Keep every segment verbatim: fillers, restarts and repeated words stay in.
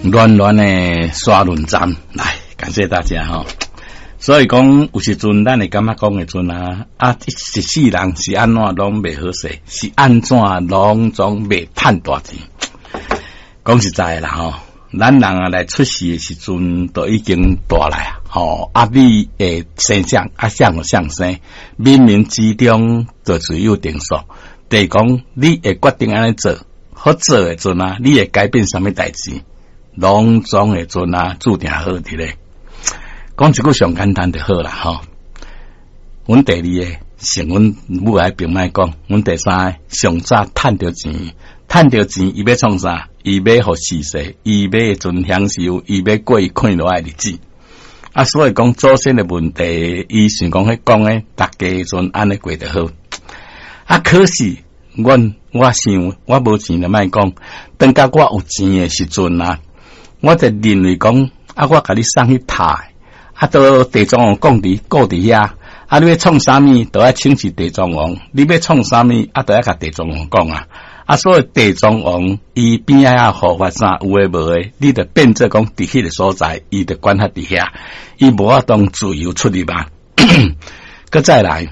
暖暖的沙崙站，來感謝大家吼。所以講有時陣咱會感覺講的陣啊，啊一世人是按怎攏袂好勢，是按怎攏總袂趁大錢。講實在的啦吼，咱人啊來出世的時陣，就已經大來啊，吼啊你會生啥啊啥予啥生，冥冥之中就自有定數。就是講你會決定按呢做，好做的陣啊，你會改變啥物代誌，攏總的陣啊，注定好佇咧。講一句上簡單就好啦，吼。阮第二个，像阮母愛並莫講，阮第三个上早趁著錢，趁著錢，伊欲創啥？伊欲予世世，伊欲陣享受，伊欲過伊快樂的日子。啊，所以講祖先的問題，伊想講彼講的，逐家陣按呢過就好。啊，可是阮我想我無錢就莫講，等到我有錢的時陣啊，我就認為講，啊，我共你送去塔。啊，都地藏王講佇顧佇遐，啊，你欲創啥物，都愛請示地藏王。你欲創啥物，啊，都愛共地藏王講啊。啊，所以地藏王伊邊仔遐護法啥有的無的，你就變做講佇彼个所在，伊就管轄佇遐，伊無法度自由出入啊。閣再來，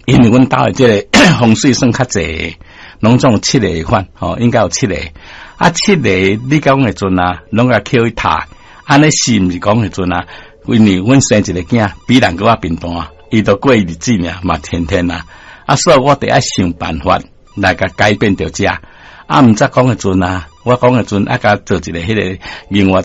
因為阮兜的這个風水算較濟，攏總有七个款，吼，應該有七个。啊，七个你講的陣啊，攏共捡去塔，按呢是毋是講的陣啊？因為阮生一个囝比人閣較貧惰，伊就過日子爾嘛，天天啊，啊，所以我得愛想辦法來共改變著遮。啊，毋則講的陣啊，我講的陣啊，共做一个彼个另外。